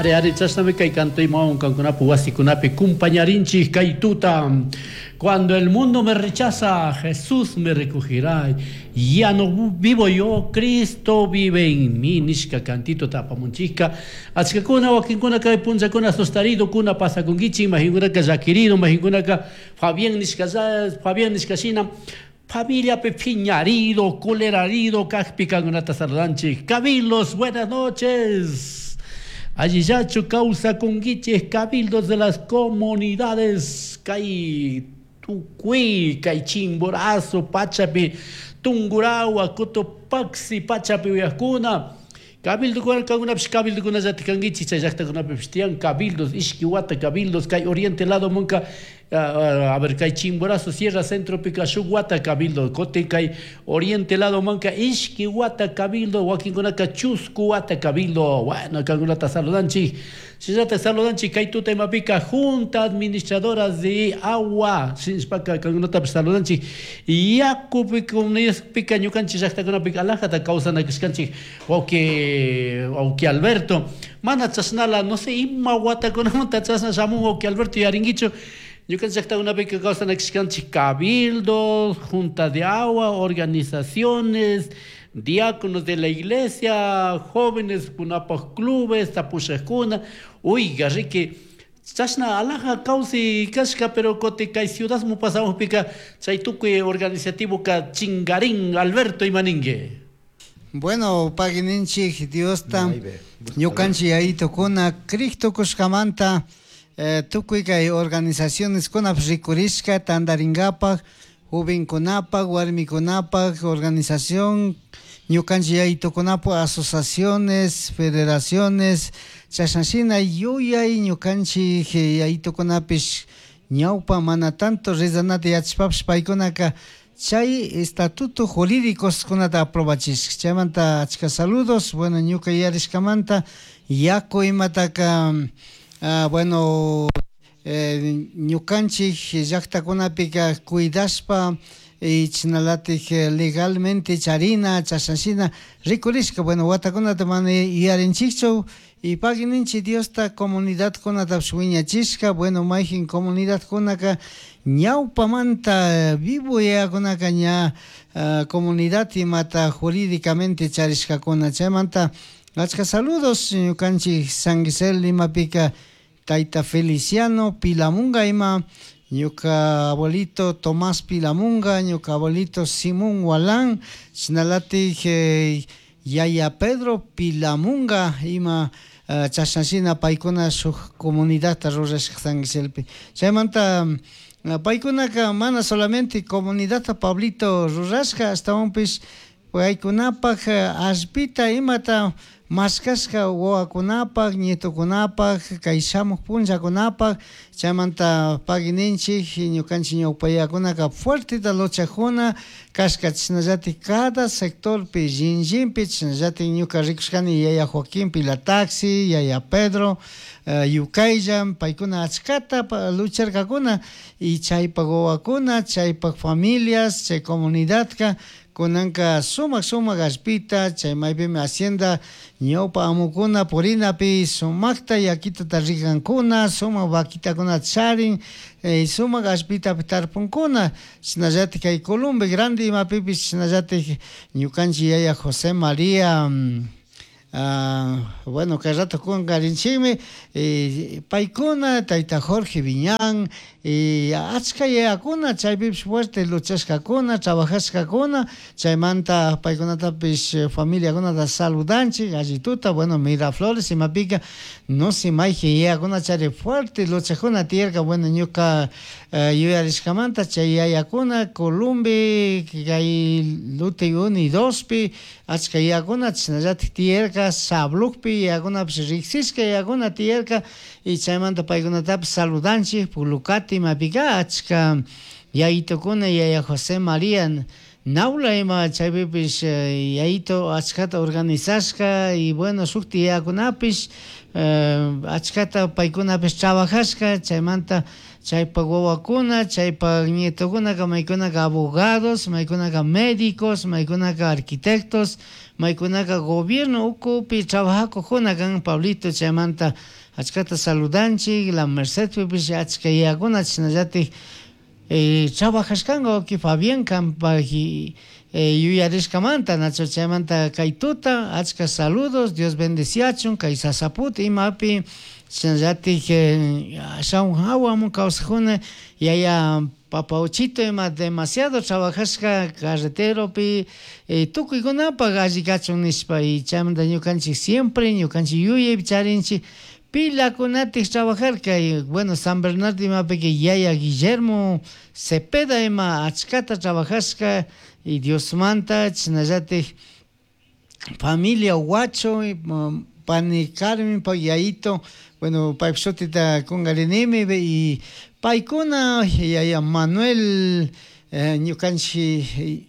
Ari, ari, chashnami kay cantaymawan kankunapi wasikunapi kumpañarinchik kay tuta. Cuando el mundo me rechaza, Jesús me recogerá. Ya no vivo yo, Cristo vive en mí. Nishka cantito apamunchikka. Achkakuna wakinkuna kay punllakuna asustaridokuna pasakunkichik, mayqinkunaka llakirido, mayqinkunaka Fabián nishka Fabián nishka shina familiapi phiñarido, colerarido kajpi kankunata saludanchik. Cabildos, buenas noches. Allillachu kawsakunkichik cabildos de las comunidades kay tukuy kay Chimborazo pachapi Tungurahua Cotopaxi pachapi uyakuna cabildokuna kankunapish cabildokunallatik kankichik chay llaktakunapipish tiyan cabildos ishki wata cabildos kay oriente lado munka a ver kay Chimborazo Sierra Centropika shuk wata cabildo kutin kay oriente lado manka ishki wata cabildo wakinkunaka chusku wata cabildo. Bueno, kankunata saludanchik. Shinallata saludanchik kay tuta imapika junta administradora de agua shinashpaka kankunatapish saludanchik. Yakupi pika ñukanchik llaktakunapika alajata kawsanakashkanchik wawki wawki Alberto mana chashnala no sé ima watakunamanta chashna shamun wawki Alberto yarinkichu ñukanchik llaktakunapika kawsanakashkanchik cabildos, junta de agua, organizaciones, diáconos de la iglesia, jóvenes kunapaj clubes, tapushakuna, oiga riki chashna alaja kawsay kashka pero kutin kay ciudadman pasamukpika chay tukuy organizativoka chingarin. Alberto, ima ninki? Bueno, pagui ninchik Diosta ñukanchik yayitukuna crik tukushkamanta tukuy kay organizaciones kunapish rikurishka tantarinkapak jovenkunapak warmikunapak organización ñukanchik yayitukunapak asociaciones, federaciones chashna shina yuyay ñukanchik yayitukunapish ñawpa mana tanto rezanata yachashpapish paykunaka chay estatuto jurídicos kunata aprobachishka. Chaymanta achka saludos. Bueno, ñuka yuyarishkamanta yaku imataka bueno, ñukanchik llaktakunapika cuidashpa y chashnalatik legalmente charina chashna shina rikurishka. Bueno, watakunata mana yuyarinchikchu y pagui ninchik Diosta comunidadkunatapish wiñachishka. Bueno, mayjin comunidadkunaka ñawpamanta vivo yayakunaka ña comunidad imata jurídicamente charishkakuna. Chaymanta achka saludos ñukanchik San Gisel limapika tayta Feliciano Pilamunga ima ñuka abuelito Tomás Pilamunga, ñuka abuelito Simón Walán, shinalatik yaya Pedro Pilamunga ima chashna shina paykuna shuk comunidadta rurashka San Giselpi. Chaymanta paykunaka mana solamente comunidadta Pablito rurashka, ashtawanpish paykunapak allpita imata mashkashka wawakunapak nietokunapak kay shamuk punllakunapak. Chaymanta pagui ninchik ñukanchik ñawpa fuerteta luchakuna kashka chashnallatik cada sectorpi shinllinpi chashnallatik ñuka rikushkani yaya Joaquín Pilataxi, yaya Pedro Yukaylla paykuna achkata lucharkakuna y chaypak wawakuna chaypak familias chay comunidadka kunanka sumak sumak allpita chay maypimi hacienda ñawpa amukuna purinapi sumakta yakitata rigankuna sumak vaquitakuna charin sumak allpitapi tarpunkuna. Shinallatik kay Columbe Grande imapipish shinallatik ñukanchik yaya José María bueno, kay rato kunkarinchikmi paykuna tayta Jorge Viñán y achka yayakuna chaypipish fuerte luchashkakuna trabajashkakuna. Chaymanta paykunatapish familiakunata saludanchik allituta. Bueno, Miraflores imapika no sé mayjin yayakuna chari fuerte luchakuna tiyarka. Bueno, ñuka yuyarishkamanta chay yayakuna Columbe kay Lute 1 y 2pi achka yayakuna chashnallatik tiyarka Sablukpi yayakunapish riksishka yayakuna tiyarka y chaymanta paykunatapish saludanchik. Pulucati imapika achka yayitukuna yaya José María. Naula ima chaypipish yayito achkata organizashka y bueno shukti yayakunapish achkata paykunapish trabajashka chaymanta chaypak wawakuna chaypak nietokunaka maykunaka abogados, maykunaka médicos, maykunaka arquitectos, maykunaka gobierno ukupi trabajacujuna kan Pablito chaymanta achkata saludanchik La Mercedpipish achka yayakuna chashnallatik trabajashkanka wawki Fabián kanpak yuyarishkamanta nacho chaymanta kay tuta achka saludos Dios bendeciachun kay Sasaput imapi chashnallatik ashawan hawamun kawsakuna yaya Papauchito ima demasiado trabajashka carreteropi tukuykunapak alli kachun nishpa y chaymanta ñukanchik siempre ñukanchik yuyaypi charinchik pilakunatik trabajarka y bueno San Bernardo imapika yaya Guillermo Cepeda ima achkata trabajashka y Diosmanta chashnallatik familia Huacho pani Carmen pak yayito bueno paypak shutita kunkarinimi y paykuna yaya Manuel ñukanchik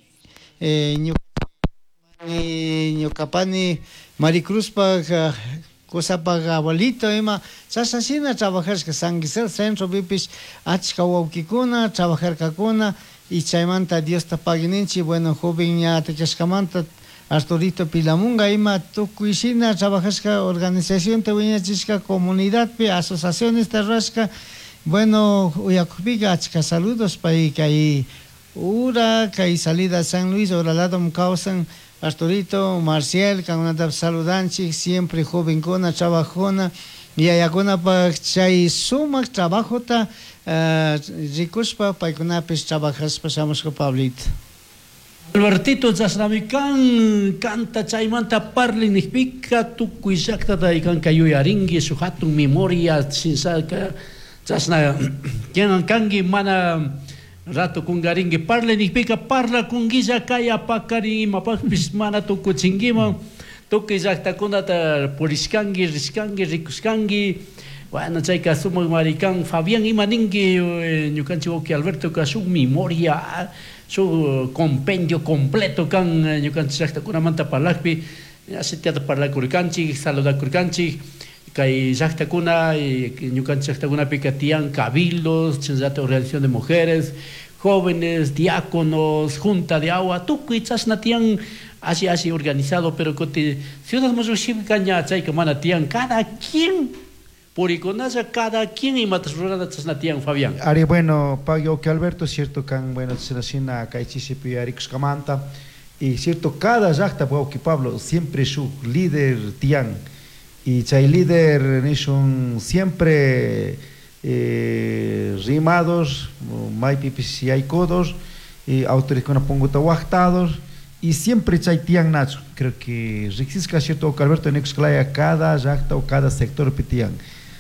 ñuka pani Maricruzpak kusapak abuelito ima chashna trabajashka San Gisel centropipish achka wawkikuna trabajarkakuna y chaymanta Diosta paguininchik bueno joven ña kashkamanta Arturito Pilamunga ima tukuy shina trabajashka organizacionta wiñachishka comunidadpi asociacionesta rurashka bueno uyakukpika achka saludos pay kay ura kay salida San Luis ura ladom kawsan Arturito, Marcial kankunatapish saludanchik siempre jovenkuna trabajuna yayakunapak chay sumak trabajota rikushpa paykunapish trabajashpa shamushka Pablito. Albertito chashnami kan kanta chaymanta parli nijpika tukuy llaktata kanka yuyarinki shuk hatun memoria shinshaka chashna kanki mana rato kunkarinki parli nijpika parlakunguilla kay apakarin imapakpish mana tukuchinkiman tukuy llaktakunata purishkanki rishkanki rikushkanki bueno chayka sumak mari kan Fabián ima ninki ñukanchik wawki Albertoka shuk memoria shuk compendio completo kan ñukanchik llaktakunamanta parlakpi asitiata parlakurkanchik saludakurkanchik kay llaktakuna ñukanchik llaktakunapika tiyan cabildos chashnallatak organización de mujeres jóvenes, diáconos, junta de agua, tukuy chashna tiyan alli alli organizado pero kuti ciudad mushushipika ña chayka mana tiyan cada quien purikunalla cada quien imata rurana chashna tiyan Fabián. Ari bueno, pagui que Alberto, cierto kan bueno chashna kay chishipi yuyarikushkamanta y cierto cada llakta wawki Pablo siempre shuk líder tiyan y chay líder nishun siempre rimados, maypipish yaykudos, y autoridadkuna punguta waqtados y siempre chay tiyan nacho. Creo que riqsishka cierto Alberto nikushkalaya cada llakta o cada sector pi tiyan.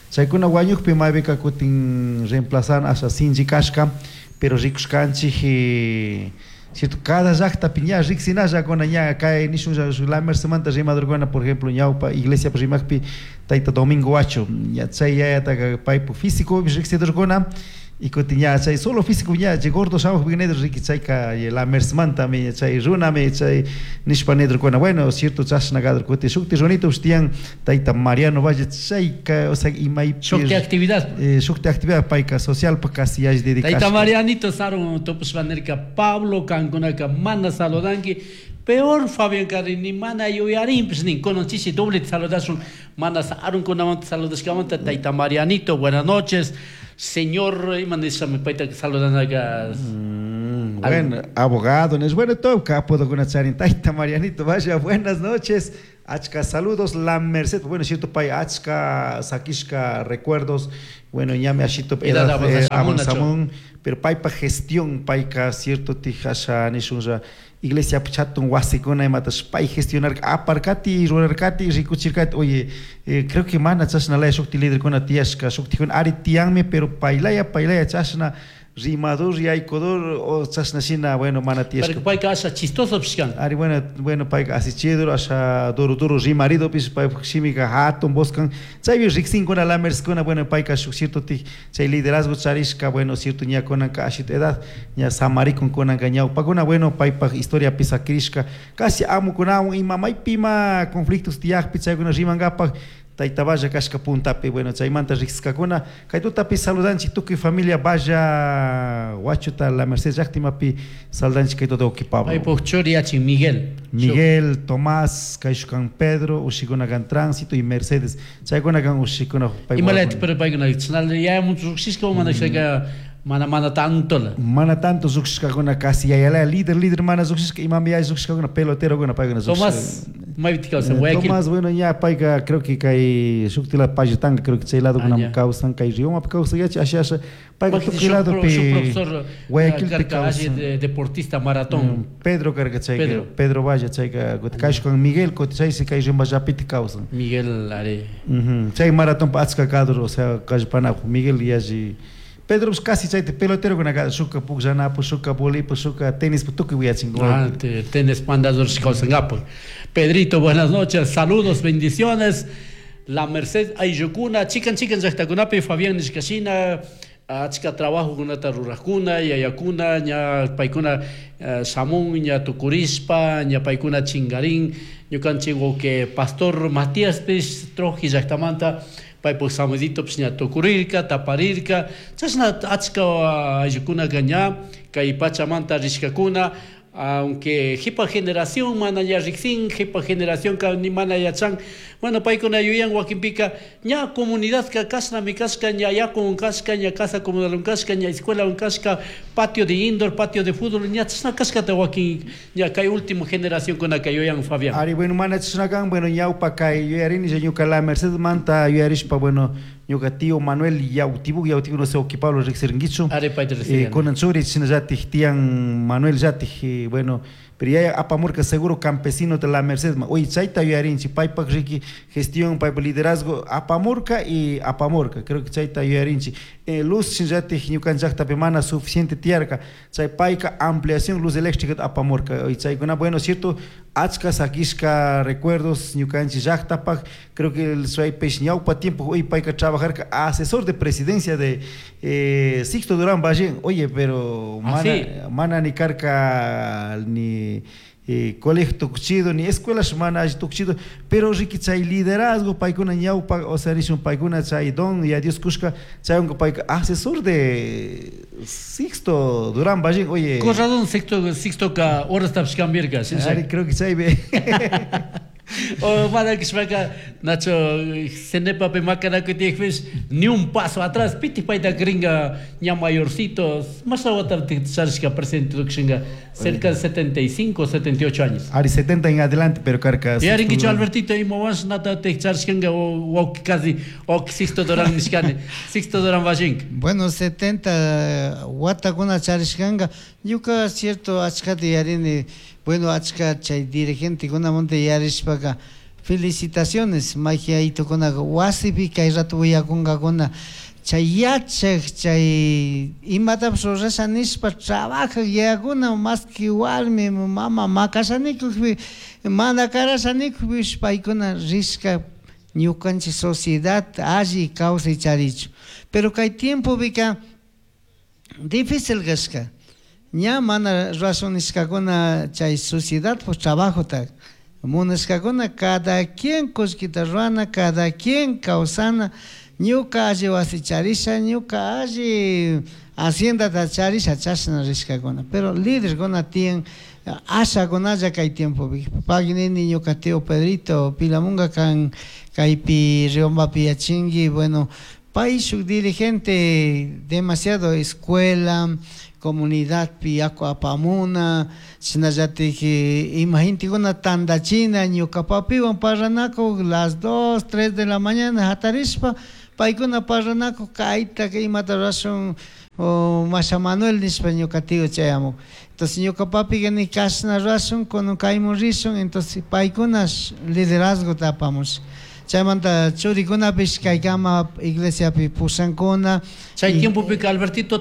Chaykuna wañukpi maypika kutin reemplazan asha sinchi kashka, pero rikushkanchik cierto cada llaktapi ña riqsinallakuna ña kay nishun La Mercedmanta rimadorkuna por ejemplo ñawpa iglesia rimakpi tayta Domingo Huacho ña chay yayataka paypuk físico riqsidorkuna y kutin ña chay solo físico ña chay gordo shamukpi nidor riki chayka La Mercedmantami chay runami chay nishpa nidorkuna bueno cierto chashna kador kutin shukti runito tiyan tayta Mariano Valle chayka o sea imaypi shukti actividad shukti actividad payka socialpa casi yalli dedicashka Tayta Marianito sarun tupushpa nirka Pablo kankunaka mana saludanki peor Fabián Carrini mana yuyarinpish nin kunan chishi doble saludashun mana sarunkunamanta saludashkamanta tayta Marianito buenas noches señor ima nishami payta saludanaka bueno abogado es bueno todo capo charin tayta Marianito vaya buenas noches achka saludos La Merced bueno cierto pay achka sakishka recuerdos bueno ñami ashito edad avanzamun pero paypa gestión payka cierto tijasha nishunlla iglesia chatun wasikuna imatash pay gestionar aparkati rurarkati rikuchirkati oye creo que mana chashnalaya shukti liderkuna tiyashka shuktikuna ari tiyanmi pero paylaya paylaya chashna Rimadur yaykudur o chashna shina, bueno, mana tiyashka. Payka asha chistoso kan. Ari, bueno, payka asichidur, asha duro duro rimaridopish, paypuk shimika hatun voz kan. Chaypi riksinkuna lamerskuna, bueno, payka shuk cierto chay liderazgo charishka, bueno, cierto ña kunanka ashita edad, ña samarikun kunanka ñawpakuna, bueno, paypak historiapi sakirishka, casi amukunawan ima maypi ima conflictos tiyakpi chaykuna rimankapak Tayta Valla kashka puntapi, bueno, chaymanta riksiskakuna, kay tutapi saludanchik tukuy familia Valla Huachuta La Merced llaktimapi saludanchik kay tuta wawki Pablo. Paypuk churi yachin Miguel. Miguel, Tomás, kayshuk Pedro, ushikuna kan Tránsito y Mercedes. Chaykuna kan ushikuna paypuk Imalayta pero paykuna chinal yaya mucho riksishka o mana shaka mana mana tanto la. Mana tanto riksishkakuna casi yayalaya líder líder mana riksishka imami yaya riksishkakuna pelotero kuna paykuna. Tomás maypi kawsan Guayaquil. Tomás, bueno, ya payka creo que kay shuktila Payotanga, creo que chay lado kuna kawsan, kay Riomapi kawsan yachi asha asha payka tukuy ladopi profesor Guayaquilpi kawsan. Deportista maratón. Pedro karka chayka, Pedro Valla chayka, kayshuk Miguel kuti chaysi kay Riomallapiti kawsan. Miguel are. Chay maratón pa achka kadur, o sea, kallpanaku Miguel yalli Pedro pues casi chayta pelotero kuna shuka pukllanapu, shuka volipu, shuka tenis tukuy wiyachin. Ah, tenis mandador kawsankapak. Pedrito, buenas noches, saludos, bendiciones. La Merced ayllukuna, chikan chikan llaktakunapi Fabián nishkashina, achka trabajo kunata rurajkuna, yayakuna, ña paykuna shamun, ña tukurishpa, ña paykuna chingarin, ñukanchik wawqi pastor Matíaspish Troji llaktamanta paypuk samuditopish ña tukurirka, taparirka, chashna achka ayllukunaka ña kay pachamanta rishkakuna, aunque jipa generación mana ña riksin, jipa generación ka ni mana yachan, bueno, paykuna yuyan wakinpika ña comunidad ka kashnami kashka, ña yaku kashka, ña casa comunal kashka, ña escuela kashka, patio de indoor, patio de fútbol, ña chashna kashkata wakin ña kay último generación kuna kay yuyan Fabián. Ari, bueno, mana chashna kan, bueno, ñawpa kay yuyarini ñuka La Merced manta yuyarishpa, bueno, ñuka tío Manuel Yautibuk, Yautibuk no sé, wawki Pablo riksirinkichu. Ari, payta riksirini. Kunan churi shinallatik tiyan Manuel llatik, bueno, pero yaya apamurka seguro campesino de La Merced, oye, chayta yuyarinchik, paypak riki gestión, paypak liderazgo, apamurka y apamurka, creo que chayta yuyarinchik. Luz shinallatik ñukanchik llaktapi mana suficiente tiyarka, chay payka ampliación luz eléctrica apamurka, oye, chaykuna, bueno, cierto, achka sakishka recuerdos ñukanchik llaktapak, creo que el chaypish ñawpa tiempo, oye, payka trabajarka asesor de presidencia de Sixto Durán Ballén, oye, pero mana, mana ni karka ni colegio tukuchido, ni escuela mana alli tukuchido, pero riki chay liderazgo paykuna ñawpa, o sea, nishun paykuna chay don y a Dios kushka, chaywanka payka asesor de Sixto Durán Ballén, oye. Corradón Sixto ka horastapish cambiarka, Ari, creo que chay O mana kishpaka Nacho cenepapi makanakuy tiyakpish ni un paso atrás, piti payta gringa ña mayorcitos, más wata charishka presidente tukushinka cerca de 75, 78 años. Ari 70 en adelante, pero karka. Y arinkichu Albertito ima wash nata te charishkanka o casi o Sixto Durán nishkani, Sixto Durán Ballén. Bueno, 70 watakuna charishkanka, ñuka cierto achkata yarini, bueno, achka chay dirigentekunamanta yarishpaka felicitaciones, mayjaytukunaka wasipi kay rato willakunkakuna, chay yachak, chay imatapish rurasha nishpa trabajak yayakuna, más que warmi mama makashanikukpi, mana karashanikukpish paykuna rishka ñukanchik sociedad alli kawsay charichu. Pero kay tiempopika difícil kashka, ña mana razonishkakuna chay sociedad pues trabajota munashkakuna, cada quien kullkita ruana, cada quien kawsana, ñuka alli wasi charisha, ñuka alli haciendata charisha, chashna rishkakuna. Pero líderkuna tiyan ashakunalla kay tiempopi. Paginini ñuka tío Pedrito Pilamunga kan kaypi Riombapi yachinki, bueno, pay shuk dirigente demasiado escuela, comunidad pi yaku apamuna, shinallatik ima gentekuna tandachina, ñuka papiwan parlanakuk las 2, 3 de la mañana hatarishpa, paykuna parlanakuk kayta imata rurashun o Masha Manuel nishpa ñuka tío chayamuk. Entonces ñuka papika ni kashna rurashun, kunan kaymun rishun, entonces paykuna liderazgota apamush. Chaymanta churikunapish kaykama iglesiapi pushankuna. Chay tiempopika Albertito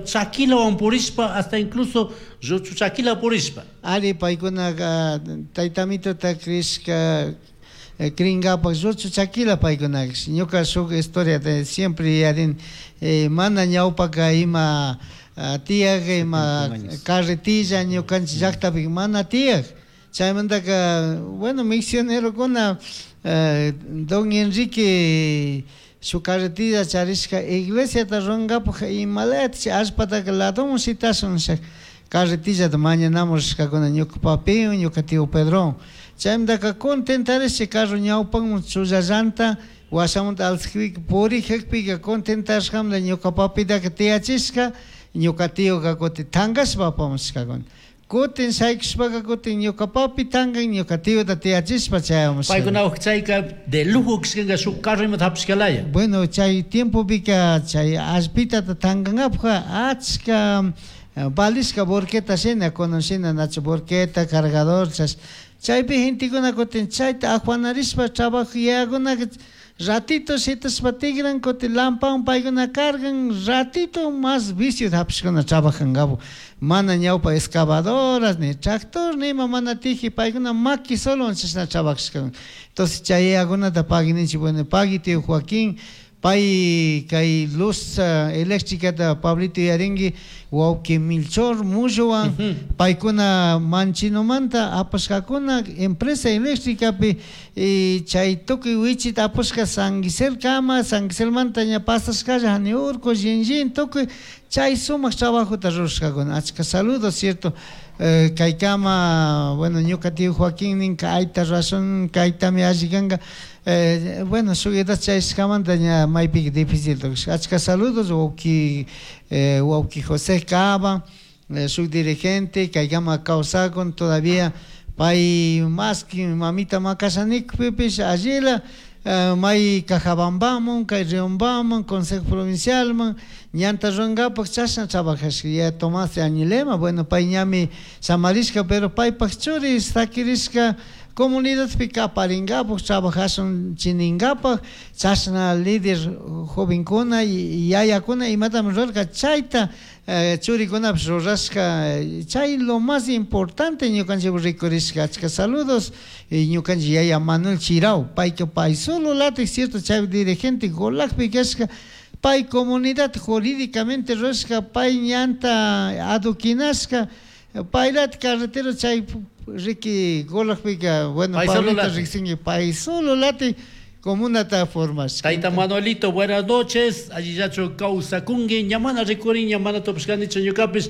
chakilawan purishpa, hasta incluso ruchu chakila purishpa. Ari, paykunaqa taytamitota crishka cringapak ruchu chakila paykunaqa. Ñuka shuk historiata siempre yuyarini, mana ñawpaka ima tiyaq, ima carretilla ñukanchik llaktapi mana tiyaq. Chaymantaka, bueno, misionerokuna don Enrique shuk carretilla charishka iglesiata rurankapak imalayata allpataka ladoman shitashun nisha carretillata mañanamun rishkakuna ñuka papiwan, ñuka tío Pedrowan. Chaymantaka contentarisha carro ñawpanman chullallanta washamanta alzakpika purijakpika contentashkamanta ñuka papitaka tiyachishka, ñuka tíoka kutin tankashpa apamushkakuna. Kutin shaykushpaka kutin ñuka papi tankan, ñuka tíota tiyachishpa chayamushka. Paykuna chayka de lujo kishkanka shuk carro imata hapishkalaya. Bueno, chay tiempopika chay allpitata tankankapukka achka valishka volqueta shina, kunan shina nachu volqueta, cargador, chaypi gentekuna kutin chayta ajuanarishpa trabajo yayakunaka ratito shitashpa tigran, kutin lampawan paykuna cargan, ratito mas vicio hapishkuna trabajankapu. Mana ñawpa excavadoras, ni tractor, ni ima mana tiji, paykuna maki solo chashna trabajashkakuna. Entonces chay yayakunata pagui ninchik, bueno, pagui tío Joaquín, pay kay luz eléctricata Pablito yuyarinki, wawki Melchor Mullowan, paykuna Manchinomanta apashkakuna empresa eléctricapi, y chay tukuy wichita apashka San Giselkama, San Giselmanta ña pasashkalla hani urku, Shinllin, tukuy chay sumak trabajota rurashkakuna. Achka saludos, cierto. Kaykama, bueno, ñuka tío Joaquín ninka ayta rurashun, kaytami alli kanka. Bueno, shuk edad chayashkamanta ña maypika difícil tukushka. Achka saludos, wawki José Cava, shuk dirigente, kaykama kawsakun todavía, pay más que mamita makashanikpipish allila, may Cajabambaman, kay Riobambaman, Consejo Provincialman, ñanta rurankapak chashna trabajashka. Ya Tomás de Añilema, bueno, pay ñami samarishka, pero paypak churi sakirishka comunidadpi kaparinkapak, trabajashun chininkapak, chashna líder jovenkuna, yayakuna imatami rurarka, chayta churikunapish rurashka, chay lo más importante ñukanchik rikurishka. Achka saludos, ñukanchik yaya Manuel Chirau, payka pay solo latik, cierto, chay dirigente Golakpi kashka, pay comunidad jurídicamente rurashka, pay ñanta aduquinashka, paylat carretero chay riki Golakpika, bueno, Pay solo Pablito lati. riksinki, pay solo lati comunata formashka. Tayta Manuelito, buenas noches. Allillachu kawsakunki, ñamana rikurin, ñamana tupashkanichu ñukapish.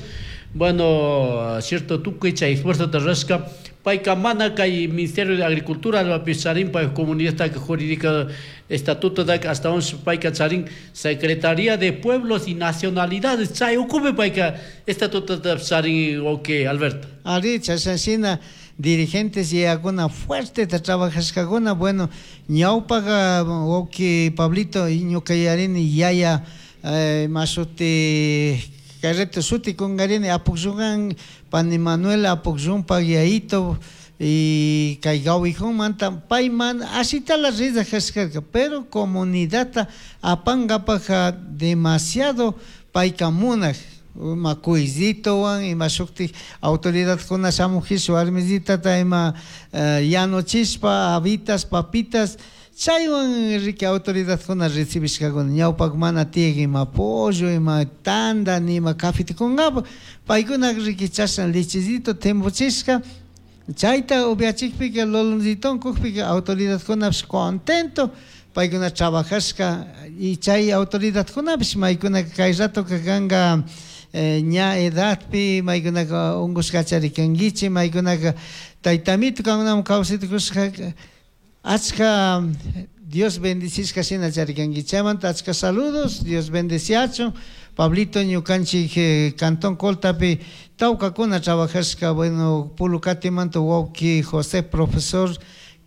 Bueno, cierto, tukuy chay esfuerzo te rashka. Payka mana kay Ministerio de Agricultura albapish charin, pay comunidad jurídica estatuto da hasta once payka charin Secretaría de Pueblos y Nacionalidades chay ukupi payka estatuto da charin, ok, Alberto. Ari, chashna dirigentes yayakuna fuerte ta trabajashkakuna, bueno, ñawpaka wawki Pablito ñuka yarini yaya, mashuti carreto shuti kungarini Apukyungan pani Manuel Apukyunpak yayito y kay Gawijunmanta payman ashitala rida kashkarka, pero comunidadta apankapak demasiado payka munak, ima kuyzitowan, ima shuktik autoridadkuna shamujish warmisitata ima yanuchishpa habitas, papitas, chaywan riki autoridadkuna recibishkakuna, ñawpak mana tiyak ima pollo, ima tanda, ni ima cafeta kunkapak, paykuna riki chashna lechecito tempochishka, chayta upiachikpika loloncitón kukpika autoridadkunapish contento, paykuna trabajashka, y chay autoridadkunapish maykuna kay ratoka kanka, ña edadpi maykunaka unkushkachari kankichik, maykunaka taytamito kankunaman kawsaytukushka, achka Dios bendicishka shina charikankichik. Chaymanta achka saludos, Dios bendeciachun. Pablito ñukanchik Cantón Coltapi tawkakuna trabajashka, bueno, Pulucatimanta wawki José profesor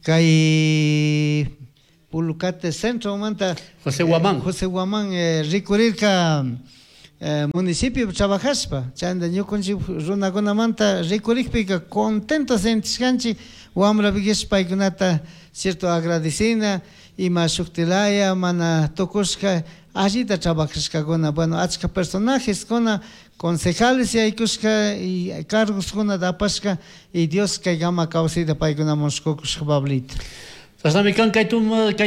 kay Pulucate Centromanta José Guamán. José Guamán rikurirka municipio trabajashpa, chayta ñukanchik runakunamanta rikurikpika contento sentishkanchik, Wamrapikish paykunata cierto agradecina ima shuktilaya mana tukushka allita trabajashkakuna. Bueno, achka personajeskuna concejales yaykushka y cargoskunata apashka y Dios kaykama kawsayta paykunaman qukushka, Pablito. Chashnami kan kay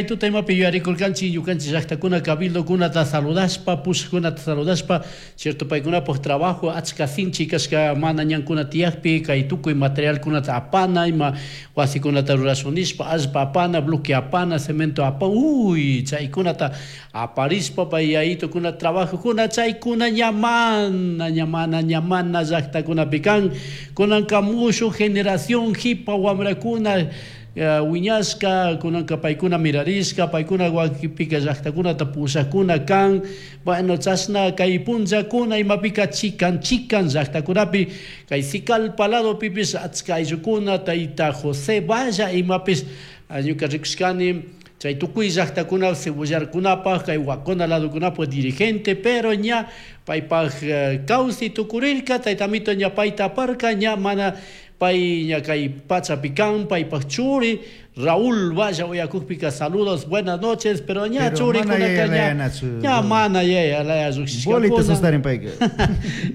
tuta imapi yuyarikurkanchik ñukanchik llaktakuna cabildokunata saludashpa, pushakkunata saludashpa, cierto paykunapuk trabajo achka sinchi kashka mana ñankuna tiyakpi kay tukuy materialkunata apana ima wasikunata rurashun nishpa allpa apana, bloque apana, cemento apana, uy chaykunata aparishpa pay yayitukuna trabajokuna chaykuna ña mana ña mana ña mana llaktakunapi kan. Kunanka mushuk generación jipa wamrakuna wiñashka kunanka paykuna mirarishka paykuna wakinpika llaktakunata pushakuna kan. Bueno, chashna kay punllakuna imapika chikan chikan llaktakunapi kay Sicalpa ladopipish achka ayllukuna tayta José Valla imapish ñuka rikushkani chay tukuy llaktakuna cebollarkunapaj kay Huacona ladokunapaj dirigente, pero ña paypaj kawsay tukurirka taytamito ña payta aparka ña mana pay ña kay pachapi kan paypaj churi Raúl Valla uyakukpika saludos, buenas noches, pero ña churikunaka ña ña mana yaya laya llukshishkakuna. Sostarin payka.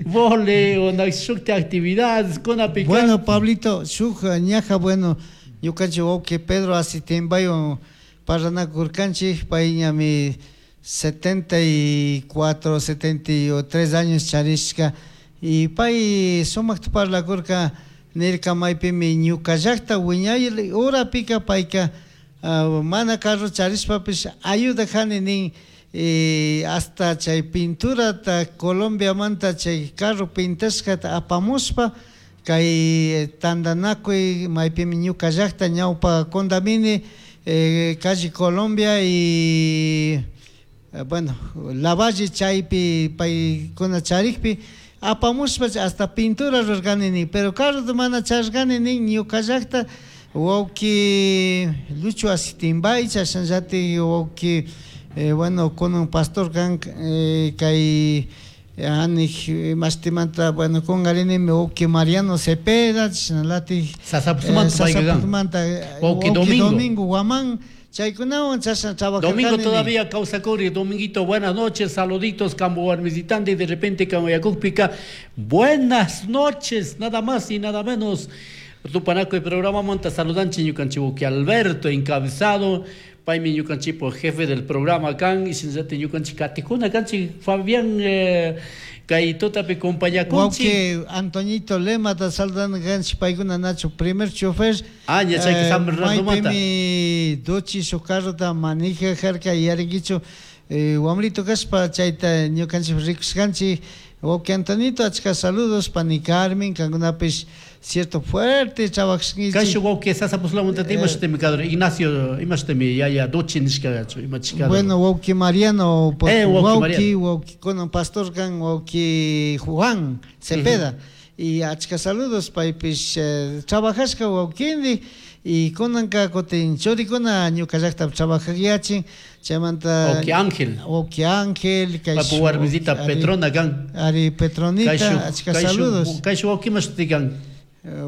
Vole o shukti actividades kunapi. Bueno, Pablito, shuk ñaja bueno, ñukanchik wawqi Pedro Asitimbayo parlanakurkanchik, pay ñami 74, 73 años charishka y pay sumakta parlakurka nirka maypimi ñuka llakta wiñay horapika payka mana carro charishpapish ayudajani nin hasta chay pinturata Colombiamanta chay carro pintashkata apamushpa kay tantanakuy maypimi ñuka llakta ñawpa Condamini calle Colombia y bueno, Lavalle chaypi paykuna charikpi apamushpa hasta pintura rurarkani nin, pero carrota mana charishkani nin ñuka llakta wawqi Lucho Asitimbay chashnallatik wawqi bueno kunan pastor kan kay anik imashtimanta bueno kungarinimi wawqi Mariano Cepeda chashnalatik Sasaputumanta wawqi Domingo, Domingo Guamán chaykunawan chashna trabajarkani. Domingo todavía kawsakuri. Dominguito, buenas noches, saluditos, campo visitante y de repente Camboyacúpica, buenas noches, nada más y nada menos. Tupanaco y programa monta saludanchi ñukanchik wawqi Alberto encabezado paymi ñukanchikpo jefe del programa kan y shinallati ñukanchik katikuna kanchik Fabián kay tutapi compañakunchik. Wawqi Antoñito Lemata saludando kanchik paykuna nachu primer chofer. Ah, ña chayka San Bernardomanta. Maypimi duchi shuk carrota manejarka yarinkichu wamrito kashpa chayta ñukanchik rikushkanchik. Wawqi Antonito, achka saludos pani Carmen, kankunapish cierto fuerte trabajashkanchik. Kay wawqi Sasapuslamunta imashutimi kador Ignacio imashutimi yaya duchi nishkagachu imachikador. Bueno, wawqi Mariano, wawqi wawqi kunan pastor kan wawqi Juan Cepeda. Y achka saludos paypish trabajashka wawqindi y kunanka kutin churikuna ñuka llaktapi trabajakyachin chaymanta wawqi Ángel. Wawqi Ángel kay Papu warmisita Petrona kan. Ari Petronita, achka saludos. Kay wawqi imashuti kan.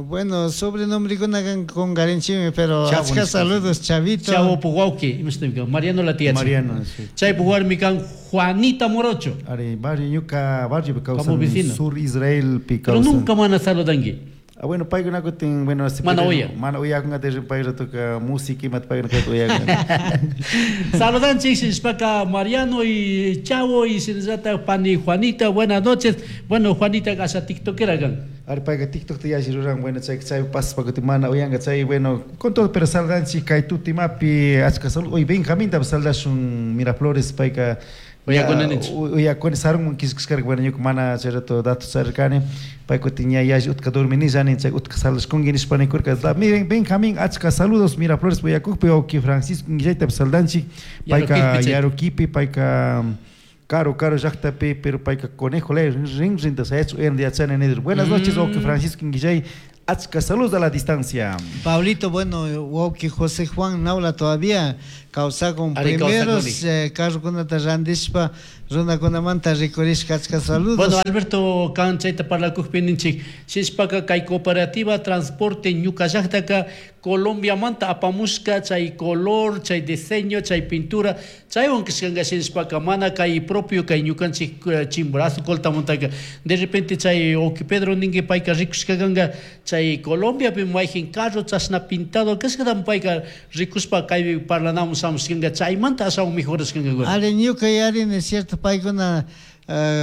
Bueno, sobrenombre kan kungarinchikmi, pero achka saludos, Chavito. Chavo pu wawqi imashutimi kan Mariano la tía. Mariano, sí. Chay pu warmi kan Juanita Morocho. Ari barrio ñuka barrio pi kawsan sur Israel pi Pero nunca mana saludanki. Ah, bueno, paykuna kutin, bueno, mana uya. Mana uyakunga payra toca música imata paykuna uyakunga. Saludanchik shishpaka Mariano y Chavo y shinallata pani Juanita, buenas noches. Bueno, Juanita kasha tiktokera kan. Ari payka TikTok ta yalli ruran, bueno, chay chay paspa kutin mana uyanka chay, bueno, con todo pero saludanchik kay tutimapi achka salud. Hoy Benjamín ta saludashun Miraflores payka uyakuni sarunman kishkashkarka, bueno, ñuka mana chay rato datos charirkani, pay kutin ña yalli utka dorminillani, chay utka saludashkunki nishpa nikurka. Miren, Benjamín, achka saludos Miraflores uyakukpi, wawqi Francisco Guillayta saludanchik, payka Yaruquipi, payka caro caro llaktapi, pero payka conejo lay rin rinta sayach uyan yachani nidur. Buenas noches, wawqi Francisco Guillay, achka saludos a la distancia. Pablito, bueno, wawqi José Juan Naula todavía kawsakun primeros carrokunata randishpa runakunamanta rikurishka, achka saludos. Bueno, Alberto kan chayta parlakukpi ninchik shishpaka kay cooperativa transporte ñuka llaktaka Colombiamanta apamushka chay color, chay diseño, chay pintura, chaywan kashkanka shinashpaka mana kay propio kay ñukanchik Chimborazo Coltamontaka. De repente chay wawki Pedro ninki payka rikushka kanka chay Colombiapi mayjin carro chashna pintado kashkatami payka rikushpa kaypi parlanamun shamushkanka chaymanta ashawan mejorashkankakuna. Ari ñuka yarini cierto paykuna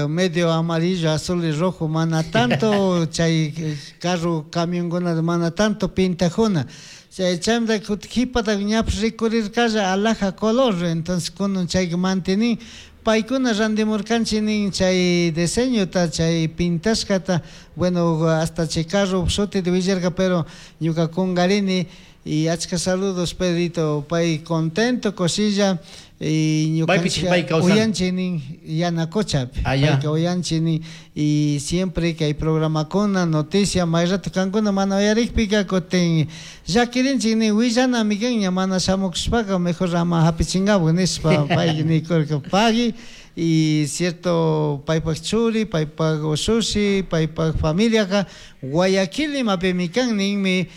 medio amarillo, azul y rojo mana tanto chay carro camionkuna mana tanto pintajuna. Chay chaymanta kutin qhipata ñapish rikurirkalla alhaja color, entonces kunan chayka mantenin paykuna randimurkanchik nin chay diseñota, chay pintashkata, bueno hasta chay carro shutita willarka pero ñuka kungarini y achka saludos Pedrito, pay contento kushilla y Maypichik ñukanchik pay kawsan? uyanchik nin Yanacochapi, Ah, ya. payka uyanchik nin y siempre kay programakuna noticia may rato kankuna mana uyarikpika kutin llakirinchik nin willanami kan ña mana shamukushpaka mejor ama hapichinkapak nishpa pay nikurka pagui y cierto paypak churi, paypak ushushi, paypak familiaka Guayaquil imapimi kan ninmi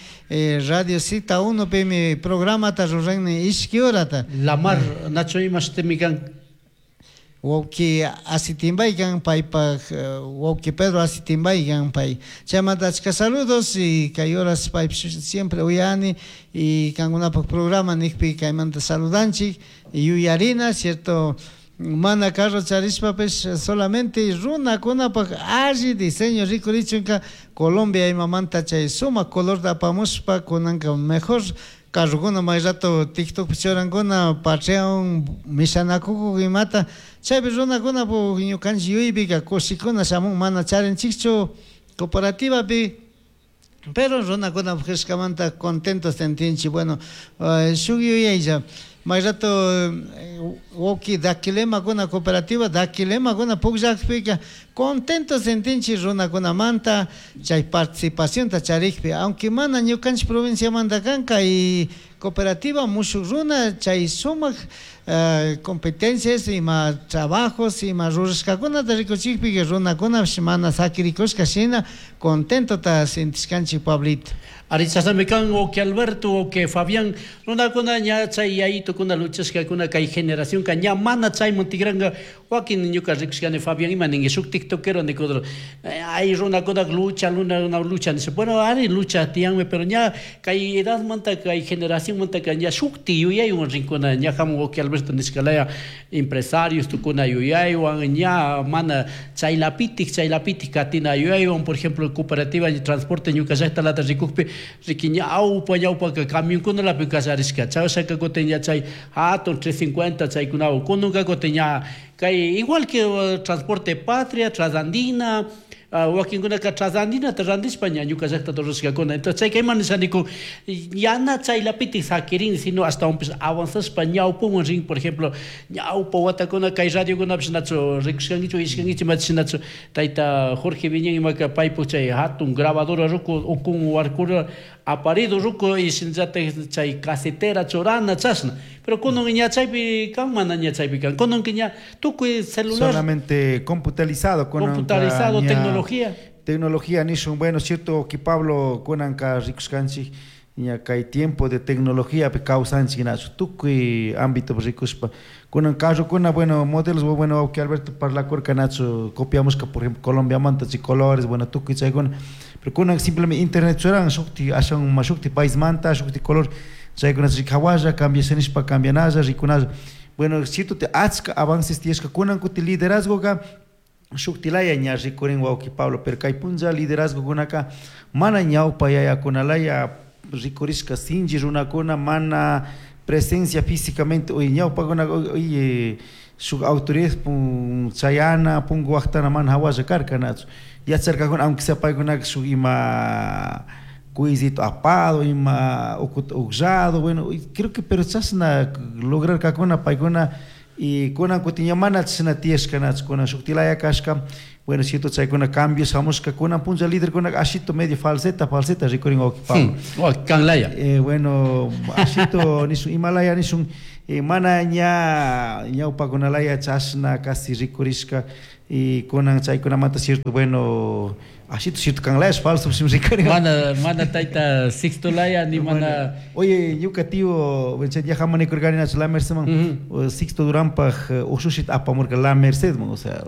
Radio Cita 1 pimi programata ruran nin ishki horata. Lamar nachu imashitimi kan? Wawki Asitimbay kan paypak wawki Pedro Asitimbay kan pay. Chaymanta achka saludos y kay horas paypish siempre uyani y kankunapak programa nikpi kaymanta saludanchik yuyarina, cierto, mana carro charishpapish solamente runakunapak alli diseño rikurichunka Colombia imamanta chay sumak colorta apamushpa kunanka mejor carrokuna may rato TikTokpi churankuna Patreon mishanakukuk imata chaypi runakunapuk ñukanchik yuypika kushikuna shamun mana charinchikchu cooperativapi pero runakunapuk rishkamanta contento sentinchik. Bueno, shuk yuyaylla may rato wawki dakilemakuna cooperativa dakilemakuna pukllakpika contento sentinchik runakunamanta chay participacionta charikpi, aunque mana ñukanchik provinciamanta kanka y cooperativa mushuk runa chay sumak competencias ima trabajos ima rurashkakunata rikuchikpika runakunapish mana sakirikushka shina contentota sentishkanchik Pablito. Ari chashnami kan wawki Alberto, wawki Fabián, runakuna ña chay yayitukuna luchashkakuna kay generacionka ña mana chayman tigranka wakin ñuka rikushkani Fabián ima ninki shuk tiktokero nikudro, ay runakuna lucha, luna, luna, lucha, nisha, bueno, ari lucha tiyanmi, pero ña kay edadmanta, kay generacionmanta ña shukti yuyaywan rinkuna, ña hamun wawki Alberto nishkalaya empresarios tukuna yuyaywan, ña mana chaylapitik, chaylapitik katina yuyaywan, por ejemplo, cooperativa de transporte ñuka llaktalata rikukpi, riki ñawpa, ñawpaka camionkunalapi kallarishka, chayshaka kutin ña chay hatun 350 chaykunawan, kununka kutin ña kay igual que transporte Patria, Trasandina, wakinkunaka Trasandinata randishpa ña ñuka llaktata rurashkakuna. Entonces chayka ima nishaniku, yana chaylapitik sakirin, sino ashtawanpish avanzashpa ñawpuman rin, por ejemplo, ñawpa watakuna kay radiokunapish nachu rikushkankichu, ishkankichu, imachish nachu tayta Jorge Viñán imaka paypuk chay hatun grabadora ruku ukun warkura aparido ruku y shinallatak chay casetera churana chashna. Pero kunan ña chaypi kan, mana ña chaypi kan. Kunan ña tukuy celular. Solamente computarizado, kunan Computarizado, ña tecnología. Tecnología nishun, bueno, cierto que Pablo kunanka rikushkanchik ña kay tiempo de tecnología pe kawsanchik nachu tukuy ámbito rikushpa. Kunan carrokuna, bueno, modelos, bueno, que Alberto parlakurka nachu copiamos que por ejemplo Colombia manta chi colores, bueno, tukuy chaykuna. Pero kunan simplemente internet churan shukti ashan ma shukti país manta shukti color chaykuna chi hawalla cambiashanishpa cambianalla rikunalla. Bueno, cierto te achka avances tiyashka kunan kuti liderazgoka shuktilaya ña rikurin wawki Pablo, pero kay punlla liderazgo kunaka mana ñawpa yayakunalaya rikurishka sinchi runakuna mana presencia físicamente oye ñawpakuna oye shuk autoridad pun chayana punku waqtana mana hawalla karka nachu yacharkakuna aunque sea paykunaka shuk ima cuisito apado ima ukuta uqllado, bueno, y creo que pero chashna lograrkakuna paykuna y kunan kutin ña mana chashna tiyashka nachu kunan shuktilaya kashka, bueno, cierto chaykuna cambios hamushka kunan punlla líder kuna ashito medio falseta, falseta rikurin wawki Pablo. Oh, kanlaya. Bueno, ashito nishun imalaya nishun, mana ña ñawpakunalaya chashna casi rikurishka y kunan chaykunamanta cierto, bueno, Ashito cierto kanlayash falso rikari. Mana mana tayta Sixto laya ni mana. Oye, ñuka tío, ya jamanikurkani nachu La Merced man, Sixto Duranpaj ushushita apamurka La Merced man, o sea,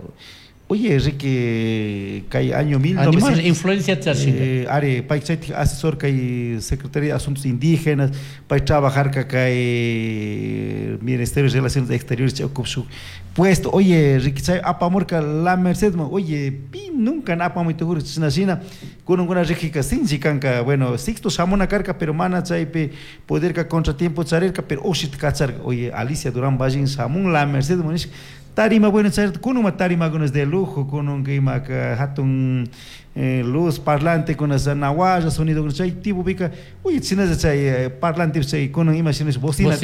oye, Ricky, kay año 1900 Animal influencia charshinka. Ari, pay chaytik asesor kay Secretaría de Asuntos Indígenas, pay trabajarka kay Ministerio de Relaciones Exteriores chay shuk puesto. Oye, Ricky, chay apamurka La Merced man, oye, pi nunca apamuy tukurka chashna shina, kununkuna Rickyka sinchi kanka, bueno, Sixto shamuna karka, pero mana chaypi poderka contratiempo charirka, pero ushita kacharka. Oye, Alicia Durán Ballín shamun La Merced man, nishka, tarima bueno chay kunuma tarimakunas de lujo, kunun imaka hatun luz parlante kunas nawaya sonido kunas chay tipo pika, oye, chinaza chay parlante chay kunun ima shinash bocina,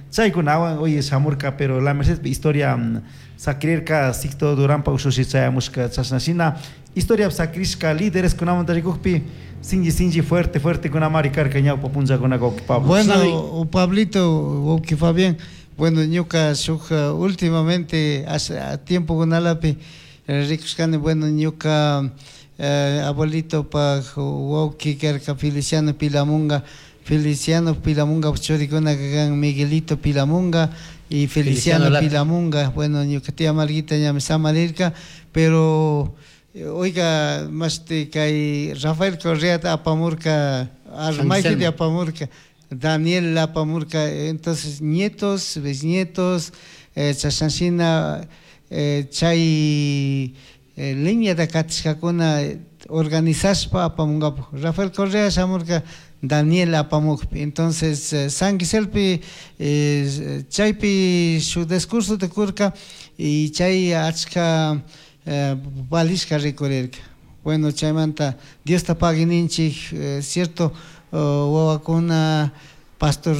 chay kunawan, oye, shamurka, pero La Merced historia sakrirka Sixto Duranpa ushushi chayamushka chashna shina, historia sakrishka líderes kunamanta rikukpi sinchi sinchi fuerte fuerte kunamari karka ñawpa punllakunaka wawki Pablo. Bueno, Pablito, wawki Fabián, bueno, ñuka shuk últimamente hace tiempo kunalapi rikushkani, bueno, ñuka abuelito pa wawki karka Feliciano Pilamunga, Feliciano Pilamunga churikuna kan Miguelito Pilamunga y Feliciano Pilamunga. Bueno, ñuka tía Marguita ñami samarirka, pero oiga, mashti kay Rafael Correa apamurka, Armaiti apamurka, Daniel apamurka, entonces nietos, bisnietos, chashanshina, chay línea de katishkakuna organizashpa apamungapu. Rafael Correa shamurka, Daniel apamukpi. Entonces, San Giselpi, chaypi su discurso de kurka y chay achka valishka rikurirka. Bueno, chaymanta Dios ta paguininchik, cierto, wawakuna pastor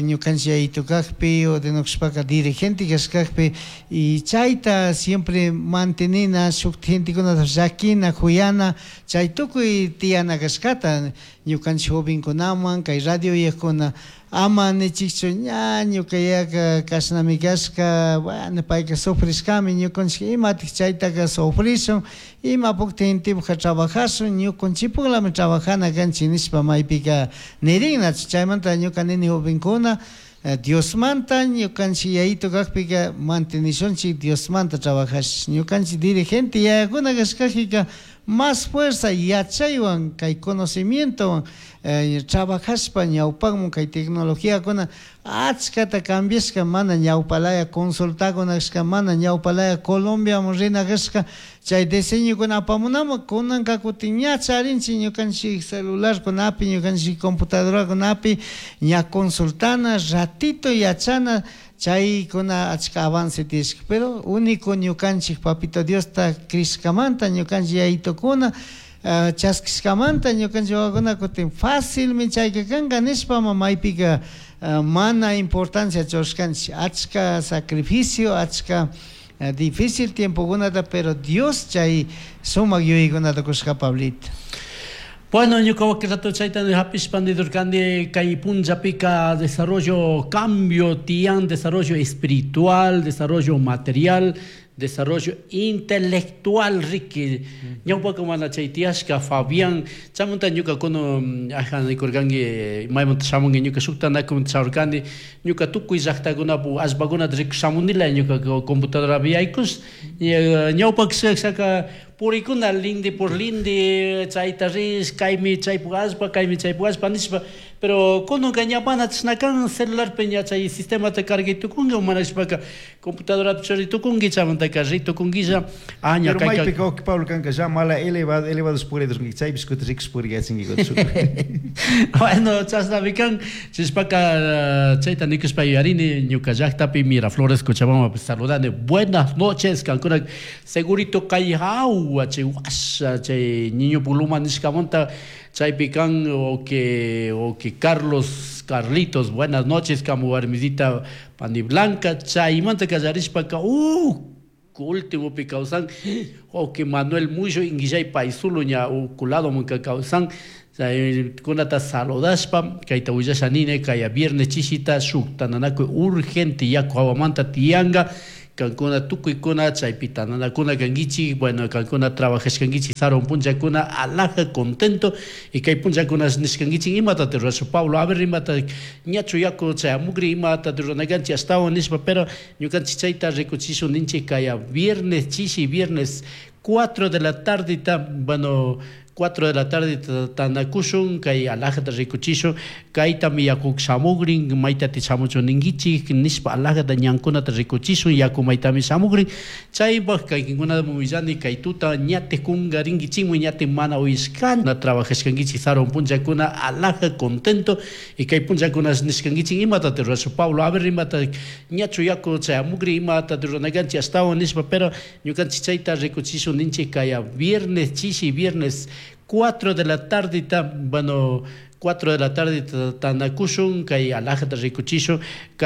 ñukanchik yayito kakpi o de nuqshpaka dirigente kashkakpi y chayta siempre mantenina shuk gentekunata llakina kuyana chay tukuy tiyana kashkata ñukanchik jovenkunaman kay radio uyakuna ama nichikchu ña ñuka yaka kashnami kashka, bueno, payka sufrishkami ñukanchik imatik chaytaka sufrishun imapukta gentepukka trabajashun ñukanchikpuklami trabajana kanchik nishpa maypika nirinnachu. Chaymanta ñuka nini jovenkuna Diosmanta ñukanchik yayito kakpika mantenishunchik Diosmanta trabajash ñukanchik dirigente yayakuna kashkajika más fuerza yachaywan kay conocimientowan trabajashpa ñawpakmun kay tecnologiakuna achkata cambiashka mana ñawpalaya consultakuna kashka mana ñawpalaya Colombiaman rina kashka chay diseñokuna apamunaman kunanka kutin ña charinchik ñukanchik celularkunapi ñukanchik computadorakunapi ña consultana ratito yachana chaykuna achka avance tiyashka, pero único ñukanchik papito Diosta crishkamanta ñukanchik yayitokuna chaskishkamanta ñukanchik wawakuna kutin fácilmi chayka kanka nishpa maypika mana importancia churashkanchik achka sacrificio achka difícil tiempokunata, pero Dios chay sumak yuyaykunata kushka Pablito. Bueno, ñuka waki rato chayta hapishpa nidurkani kay punllapika desarrollo, cambio tiyan, desarrollo espiritual, desarrollo material, desarrollo intelectual, Ricky. Ñawpaka mana chay tiyashka Fabián, chamunta ñuka kuno aja nikurkanki maymanta shamunki ñuka shukta chaurkani ñuka tukuy llaqtakunapu allpakunata rikushamunila ñuka computadorapi yaykush ñawpaka shaka purikuna linde por linde chayta rish kaymi chaypuk allpa kaymi chaypuk allpa nishpa, pero kununka ña mana chashna kan celularpi ña chay sistemata cargay tukunki mana nishpaka computadorapi churay tukunki chaymantaka ri tukunkilla aña Pero kayka maypika wawki Pablo kanka ya mala elevado elevados puridos chaypish kutin rikush puriyachinki. Bueno, chashnami kan chishpaka chayta nikushpa yuyarini ñuka llaqtapi Miraflores Cochabamba saludani buenas noches kankuna segurito kay hawa chay washa chay niño puluma nishkamanta chaypi kan o que Carlos Carlitos buenas noches kamu warmisita Pani Blanca chaymanta kallarishpaka último pi kawsan o que Manuel Muyo inguillay paisulo ña ukulado munka kawsan kunata saludashpa kayta willasha nini kaya viernes chishita shuk tananakuy urgente yaku hawamanta tiyanga Kankuna tukuykuna chaypi tananakuna kankichik, bueno, kankuna trabajashkankichik sarun punllakuna alaja contento y kay punllakuna nishkankichik imata rurasha Pablo, a ver imata ñachu yaku chayamukri imata ruranakanchik ashtawan nishpa, pero ñukanchik chayta rikuchishun ninchik kaya viernes chishi viernes 4 de la tarde bueno 4 de la tarde tanakushun kay alajata rikuchishun kaytami yakuk shamugrin maytati shamuchun ninkichik nishpa alajata ñankunata rikuchishun yaku maytami shamugrin chaypak kaykinkunata willani kay tuta ñate kungarinkichikmi ñate mana uyashkan trabajashkankichik sarun punllakuna alaja contento y kay punllakuna nishkankichik imata rurasha Pablo a ver imata ñachu yaku chayamukri imata ruranakanchik ashtawan nishpa pero ñukanchik chayta rikuchishun ninchik kaya viernes chishi viernes 4 de la tarde bueno 4 de la tarde tanakushun kay alajata rikuchishun kay.